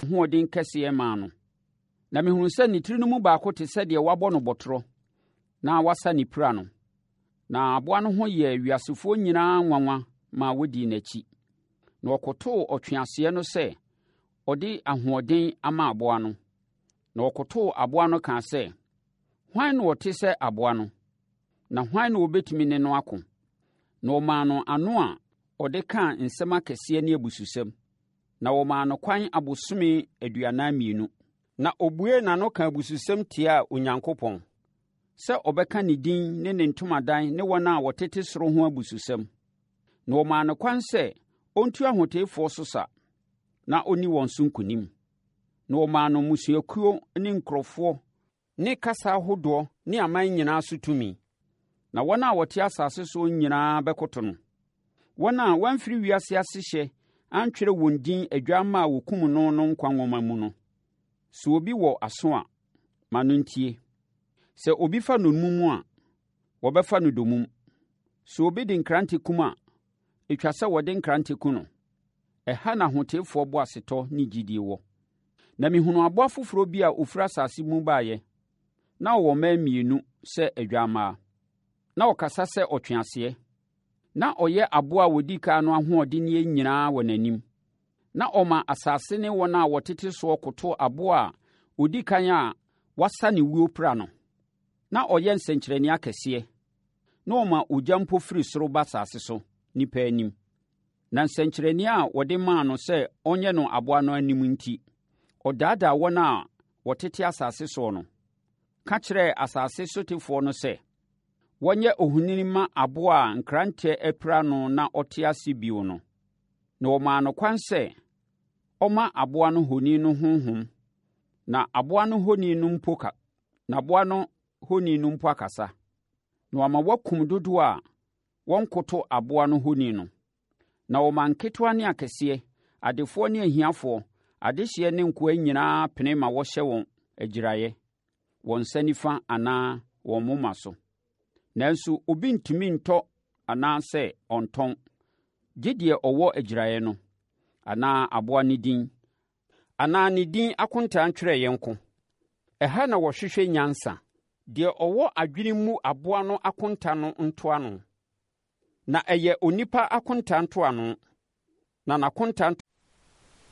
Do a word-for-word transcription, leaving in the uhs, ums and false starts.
Ahoɔden kɛseɛ maa no. Na mehunuu sɛ ne tiri no mu baako te sɛ deɛ wɔabɔ no bɔtorɔ na wɔasa ne pira no. Na aboa no ho yɛɛ wiasefoɔ nyinaa nwanwa ma wɔdii n'akyi. Na wɔkotoo ɔtweaseɛ no sɛ ɔde ahoɔden ama aboa no. Na wɔkotoo aboa no kaa sɛ, “Hwan na ɔte sɛ aboa no? Na hwan na ɔbɛtumi ne no ako?” Na wɔmaa no ano a ɔde kaa nsɛm akɛseɛ ne abususɛm. Na wɔmaa no kwan abosome aduanan mmienu. Na obuee n'ano kaa abususɛm tiaa Onyankopɔn, sɛ ɔbɛka ne din ne ne ntomadan ne wɔn a wɔtete soro ho abususɛm. Na wɔmaa no kwan sɛ ɔntu ahoteefoɔ so sa, na ɔnni wɔn so nkonim. Na wɔmaa no mmusuakuo ne nkurɔfoɔ ne kasa ahodoɔ ne aman nyinaa so tumi. Na wɔn a wɔte asase soɔ nyinaa bɛkoto no. Wɔn a wɔamfiri wiase asehyɛ antwerɛ wɔn din Adwammaa a wɔkum no no nkwa nwoma mu no. Sɛ obi wɔ aso a, ma no ntie. Sɛ obi fa nnommum a, wɔbɛfa no dommum. Sɛ obi de nkrante kum a, ɛtwa sɛ wɔde nkrante ku no. Ɛha na ahoteefoɔ boasetɔ ne gyidie wɔ. Na mehunuu aboa foforɔ bi a ɔfiri asase mu baeɛ. Na ɔwɔ mmɛn mmienu sɛ adwammaa. Na ɔkasa sɛ ɔtweaseɛ. Na ɔyɛ aboa a ɔdi kan no ahoɔdenneɛ nyinaa wɔ n'anim. Na ɔma asase ne wɔn a wɔtete soɔ koto aboa a ɔdi kan a wasa ne wuo pira no. Na ɔyɛ nsɛnkyerɛnneɛ akɛseɛ. Na ɔma ogya mpo firi soro ba asase so, nnipa anim. Na nsɛnkyerɛnneɛ a wɔde maa no sɛ ɔnyɛ no aboa no anim nti, ɔdaadaa wɔn a wɔtete asase soɔ no, ka kyerɛɛ asase sotefoɔ no sɛ, wɔnyɛ ohoni mma aboa a nkrantɛ apira no na ɔte ase bio no. Na wɔmaa no kwan sɛ ɔmma aboa no honi no honhom, na aboa no honi no mpo ka na aboa no honi no mpo akasa. Na wama wɔakum dodoɔ a wɔnkoto aboa no honi no. Na wɔma nketewa ne akɛseɛ, adefoɔ ne ahiafoɔ, adehyeɛ ne nkoa nyinaa pene ma wɔhyɛ wɔn agyiraeɛ, wɔn nsa nifa anaa wɔn moma so. Nanso obi ntumi ntɔ anaasɛ ɔntɔn, gye deɛ ɔwɔ agyiraeɛ no, anaa aboa no din, anaa ne din akontaa ntwerɛeɛ nko. Ɛha na wɔhwehwɛ nyansa. Deɛ ɔwɔ adwene mu aboa no akonta no ntoano. Na ɛyɛ onipa akonta ntoano, na n'akonta